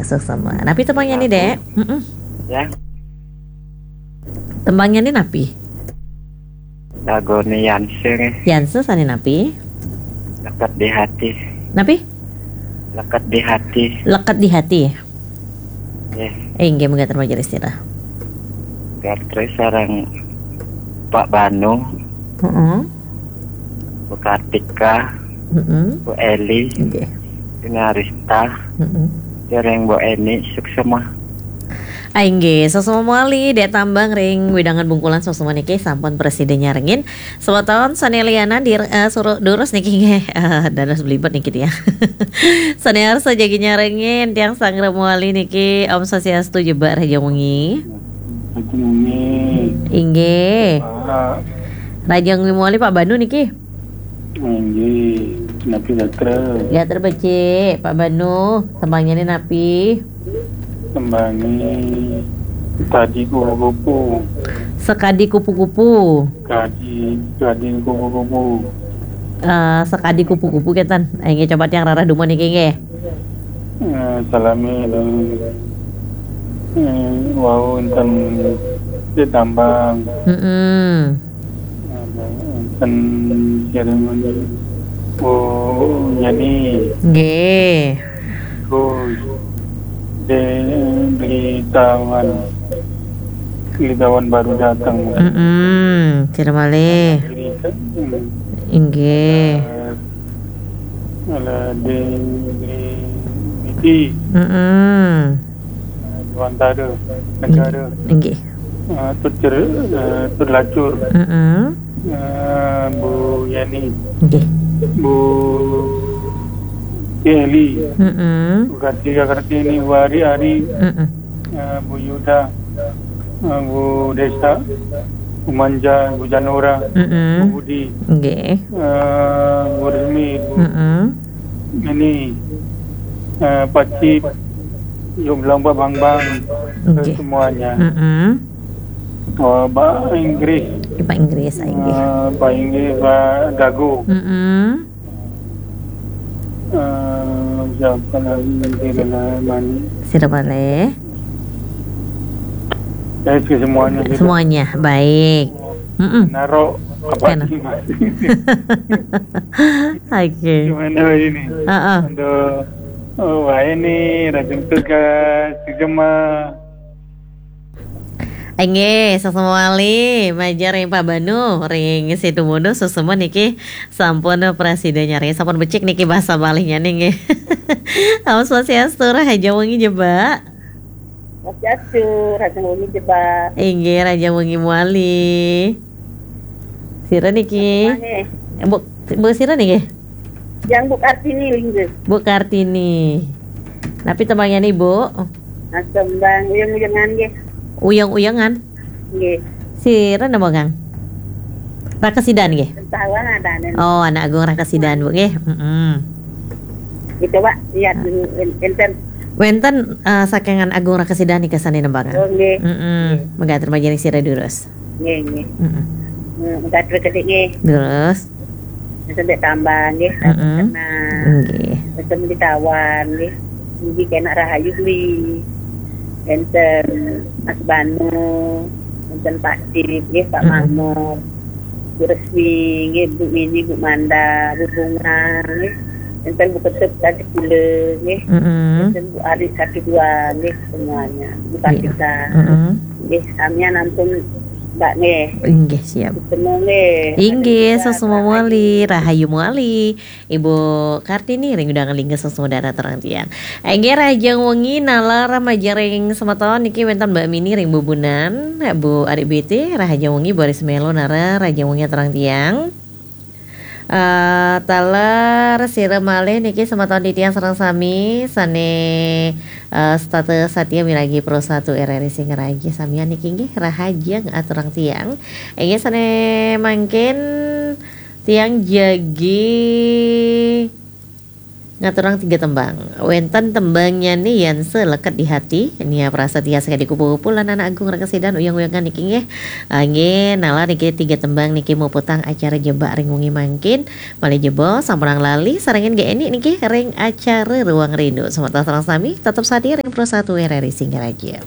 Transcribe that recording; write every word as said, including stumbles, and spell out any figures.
Suksma. Napi tembangnya ni, Dek? Mm-mm. Ya. Tembangnya ni napi? Lagune Yanse ni. Yanse sane napi? Leket di hati. Napi? Leket di hati. Leket di hati. Nggih. Eh, inggih, mangga terima kasih, Dek. Gatre sareng Pak Banu. Heeh. Bu Kartika, mm-mm, Bu Eli, nggih, Bu Narista, mm-mm, sareng Bu Eni, suksma. Ah, inggih, suksma mawali, Dek Tambang ring wewidangan Bungkulan, suksma niki sampun prasida nyarengin. Semeton sane lianan di, eh, suruh durus niki nggih. Eh, dados belibet niki tiang. Sane arsa jagi nyarengin, tiang sangra mawali niki, Om Swastiastu, jebak rahajeng wengi. Rahajeng wengi. Inggih. Pak. Rahajeng wengi mawali, Pak Banu niki. Inggih, napi gatra? Gatra becik, Pak Banu. Tembangnya ni napi? Tembangnya Sekadi Kupu-kupu. Sekadi Kupu-kupu. Sekadi, Sekadi Kupu-kupu. Eh, Sekadi Kupu-kupu, kenten. Eh, inggih, coba tiang rarah dumun niki, nggih. Eh, salami, eh, wau enten di Tambang. Mm-mm. Ada enten seremoni. Oh, jadi. Nggih. Terus, di, di Tawan, di Tawan baru datang. Mm-mm. Sira malih. Di, hmm. Inggih. Ada di, di, di, di. Mm-mm. Eh, Dewantara, Negara. Inggih. Eh, Tut Jer-, eh, Tut Lacur. Mm-mm. Eh, Bu Yani. Inggih. Bu Eli. Mm-mm. Bu Kartika Kartini, Bu Ari Ari. Mm-mm. Eh, Bu Yuda. Eh, Bu Desa. Bu Manja, Bu Janura. Mm-mm. Bu Budi. Inggih. Eh, Bu Resmi, Bu. Mm-mm. Ini, eh, Pak Cip, Yuk Bilang Pak Bang Bang, inggih, semuanya. Mm-mm. Oh, Pak Inggris. Pak Inggris, inggih. Eh, Pak Inggris, Pak Gago. Mm-mm. Eh, siapa lagi? Sira malih. Sira malih. Eh, semuanya. Semuanya, baik. Mm-mm. Naro apa? Kena. Oke. Gimana ini? Heeh. Untuk, oh, wah, ini rajin tugas, Jema. Inggih, suksma malih, majeng ring Pak Banu, ring Situbondo, suksma niki sampun prasida nyarengin, sampun becik niki basa malihnya nggih. Om Swastiastu, rahajeng wengi, Jebak. Swastiastu, rahajeng wengi, Jebak. Inggih, rahajeng wengi mawali. Sira niki? Nggih. Bu, Bu sira niki? Yang Bu Kartini, inggih. Bu Kartini. Napi tembangnya ni, Bu? Nah, tembang uyeng-uyengan, nggih. Uyeng-uyengan? Nggih. Sira nembangang? Raka Sidaan, nggih? Entah, ada, ada. Oh, Anak Agung Raka Sidaan, Bu, nggih. Mm-mm. Gitu, Pak. Iya, ah, en-, enten. Wenten, eh, saking Agung Raka Sidaan nika sane nembangang. Oh, nggih. Mm-mm. Nggih. Mangga terima kasih, sira durus. Nggih, nggih. Mm-mm. Hmm, mangga terus, nggih. Terus? Sampai Tambang, nggih. Mm-mm. Kena. Nggih. Sampai di Tawan, nggih. Nggih, kena rahayu, nggih. Enten Mas Banu, enten Pak Cip, nggih, Pak, mm-mm, Mahmud. Bu Resmi, nggih, Bu Mini, Bu Manda, Bu Bunga, nggih. Enten Bu Ketut, tadi pula, nggih. Mm-mm. Enten Bu Ari, satu dua, nggih, semuanya. Bu, iya, Kartika. Mm-mm. Nggih, samian ampun, Mbak, nggih. Inggih, siap. Ketemu, nggih. Inggih, rahayu, suksma mawali, rahayu mawali. Ibu Kartini ring wewidangan Lingga, suksma dahat aturang tiang. Inggih, rahajeng wengi nalar majeng ring semeton niki wenten Mbak Mini ring Bubunan, Bu Ari B T, rahajeng wengi, Bu Aris Melo nara, rahajeng wengi aturang tiang. Eh, taler sira malih niki semeton titiang sareng sami sane, eh, setata satia miragi Pro satu R R I Singaraja samian niki nggih rahajeng aturang tiang. Inggih sane mangkin tiang jagi Ngaturang tiga tembang. Wénten tembangnya nih yang seleket di hati. Nia Prasetya Sekadi Kupu-Kupu lan Anak Agung Rekesidan Uyang-Uyangan niki nggih. Ah, nggih, nalar niki tiga tembang niki muputang acara Jebak ring wengi mangkin. Malih jebos, sampunang lali sarengin Gék Éni niki ring acara Ruang Rindu. Semeton sareng sami tetep sadia ring Pro satu R R I Singaraja.